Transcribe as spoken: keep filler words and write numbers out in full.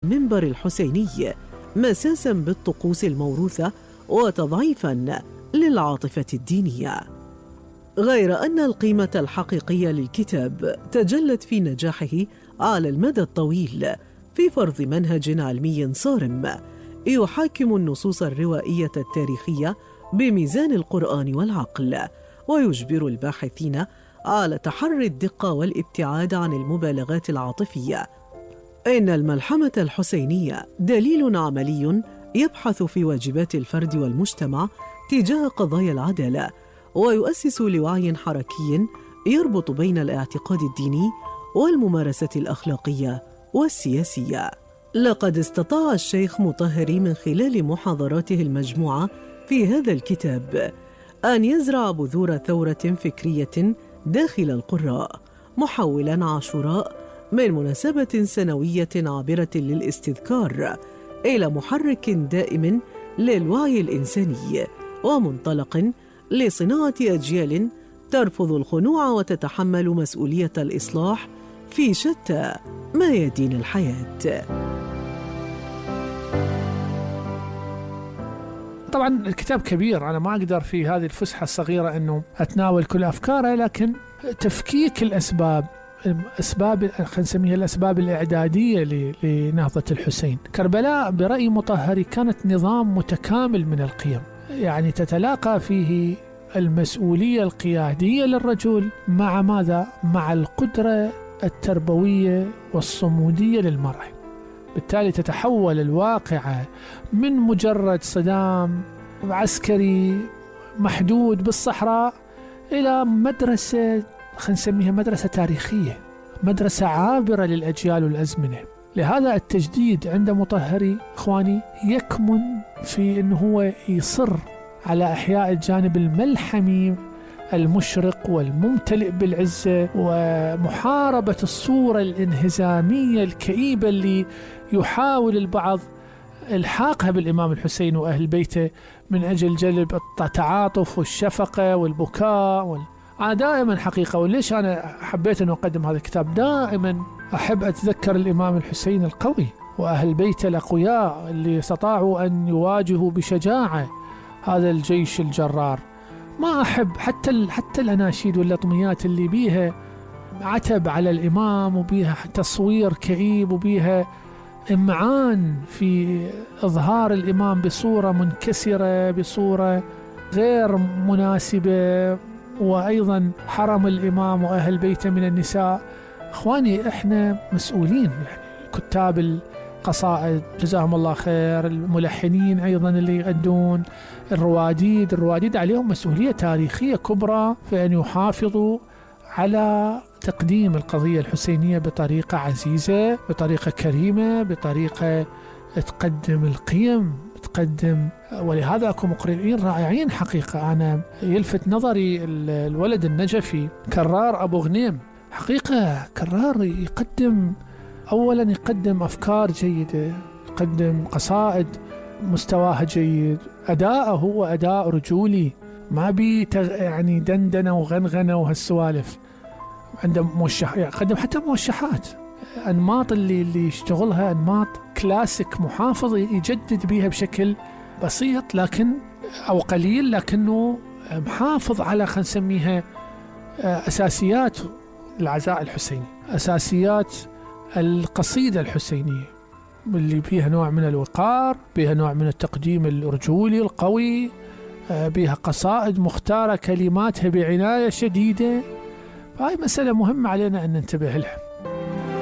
المنبر الحسيني مساسا بالطقوس الموروثة وتضعيفا للعاطفة الدينية. غير أن القيمة الحقيقية للكتاب تجلت في نجاحه على المدى الطويل في فرض منهج علمي صارم يحاكم النصوص الروائية التاريخية بميزان القرآن والعقل، ويجبر الباحثين على تحري الدقة والابتعاد عن المبالغات العاطفية. إن الملحمة الحسينية دليل عملي يبحث في واجبات الفرد والمجتمع تجاه قضايا العدالة، ويؤسس لوعي حركي يربط بين الاعتقاد الديني والممارسة الأخلاقية والسياسية. لقد استطاع الشيخ مطهري من خلال محاضراته المجموعة في هذا الكتاب أن يزرع بذور ثورة فكرية داخل القراء، محولاً عاشوراء من مناسبة سنوية عابرة للاستذكار إلى محرك دائم للوعي الإنساني، ومنطلق لصناعة أجيال ترفض الخنوع وتتحمل مسؤولية الإصلاح في شتى ميادين الحياة. طبعا الكتاب كبير، أنا ما أقدر في هذه الفسحة الصغيرة أنه أتناول كل أفكاره، لكن تفكيك الأسباب أسباب خلينا نسميها الأسباب الإعدادية لنهضة الحسين. كربلاء برأي مطهري كانت نظام متكامل من القيم، يعني تتلاقى فيه المسؤولية القيادية للرجل مع ماذا؟ مع القدرة التربوية والصمودية للمرأة. بالتالي تتحول الواقعة من مجرد صدام عسكري محدود بالصحراء إلى مدرسة خلينا نسميها مدرسة تاريخية، مدرسة عابرة للأجيال والأزمنة. لهذا التجديد عند مطهري إخواني يكمن في أنه هو يصر على إحياء الجانب الملحمي المشرق والممتلئ بالعزة، ومحاربة الصورة الانهزامية الكئيبة اللي يحاول البعض الحاقها بالإمام الحسين وأهل بيته من أجل جلب التعاطف والشفقة والبكاء وال... أنا دائما حقيقة، وليش أنا حبيت أن أقدم هذا الكتاب، دائما أحب أتذكر الإمام الحسين القوي وأهل بيته الأقوياء اللي استطاعوا أن يواجهوا بشجاعة هذا الجيش الجرار. ما أحب حتى حتى الأناشيد واللطميات اللي بيها عتب على الإمام وبيها تصوير كئيب وبيها إمعان في إظهار الإمام بصورة منكسرة، بصورة غير مناسبة، وأيضا حرم الإمام وأهل بيته من النساء. إخواني إحنا مسؤولين، يعني كتاب القصائد جزاهم الله خير، الملحنين أيضا اللي يغدون، الرواديد الرواديد عليهم مسؤولية تاريخية كبرى في أن يحافظوا على تقديم القضية الحسينية بطريقة عزيزة، بطريقة كريمة، بطريقة تقدم القيم، تقدم. ولهذا أكو مقرئين رائعين حقيقة. أنا يلفت نظري الولد النجفي كرار أبو غنيم، حقيقة كرار يقدم، أولا يقدم أفكار جيدة، يقدم قصائد مستواها جيد، أداءه هو أداء رجولي، ما بي يعني دندنة وغنغنة وهالسوالف. عنده موشح، يقدم حتى موشحات، أنماط اللي اللي يشتغلها أنماط كلاسيك محافظ، يجدد بيها بشكل بسيط لكن أو قليل، لكنه محافظ على خلينا نسميها أساسيات العزاء الحسيني، أساسيات القصيدة الحسينية اللي فيها نوع من الوقار، فيها نوع من التقديم الرجولي القوي، بيها قصائد مختارة كلماتها بعناية شديدة. فهي مسألة مهمة علينا أن ننتبه لها.